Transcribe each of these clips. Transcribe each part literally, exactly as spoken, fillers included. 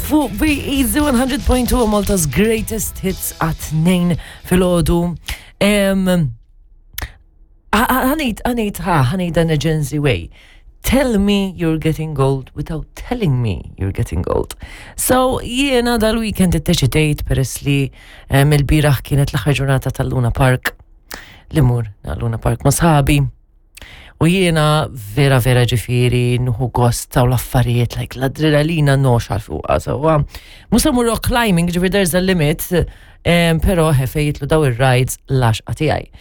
Fuq Be Easy one hundred point two, Malta's greatest hits at nine filgħodu. Ħa ngħid, ħa ngħid, ha, ħa ngħid in a Gen Z way. Tell me you're getting old without telling me you're getting old. So, jiena dal-weekend iddeċidejt, peress li il-bieraħ kienet l-aħħar ġurnata tal-Luna Park, li mmur Luna Park ma' sħabi. U jiena vera vera ġifieri nieħu gost ta' l-affarijiet, like l-adrenalina nox għal fuqa. So, mhux se mmur rock climbing, ġifieri there's a limit, um, pero fejn jidħlu daw ir-rides l-għaxqa tiegħi.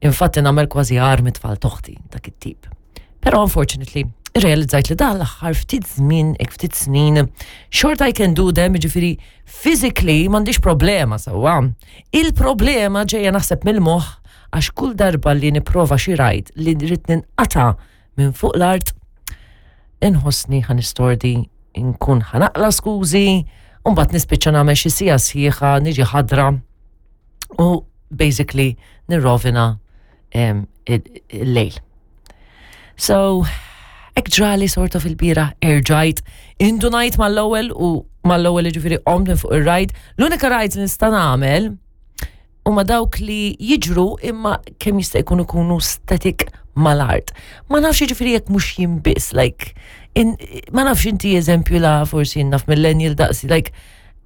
Infatti nagħmel kważi armi tfal toħti, dak it-tip. Pero unfortunately, realizzajt li dan l-aħħar ftit żmien, ek ftit snin, short I can do them, ġifieri physically m'għandix problema sewwa. Il-problema ġejja naħseb mill-moħħ, għax kull darba li nipprova xi ride li rrid ninqata' minn fuq l-art, inħossni ħa nistordi, nkun ħa naqla' skużi, u mbagħad nispiċċa nagħmel xi siegħa sħiħa niġi ħadra u basically nirrovina il-lejl. So, hekk ġrali sort of il-bieraħ, erġajt, indunajt mal-ewwel u mal-ewwel, ġifieri qomt minn fuq ir-ride. L-unika ride li nista' nagħmel huma dawk li jiġru imma kemm jista' jkun ikunu static mal-art. Ma nafx ġifieri jekk mhux jien biss, like, in, ma nafx inti eżempju la forsi naf millennial daqsi, like,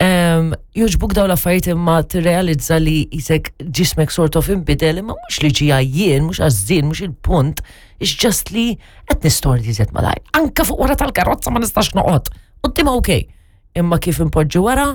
um, jogħġbuk daw l-affarijiet imma tirrealizza li jisek ġismek sort of inbidel, imma mhux li ġija jien, mhux għażżien, mhux il-punt, it's just li qed nistordi iżjed malajr. Anka fuq wara tal-karozza ma nistax noqgħod. Quddiem okay. Imma kif impoġġi wara,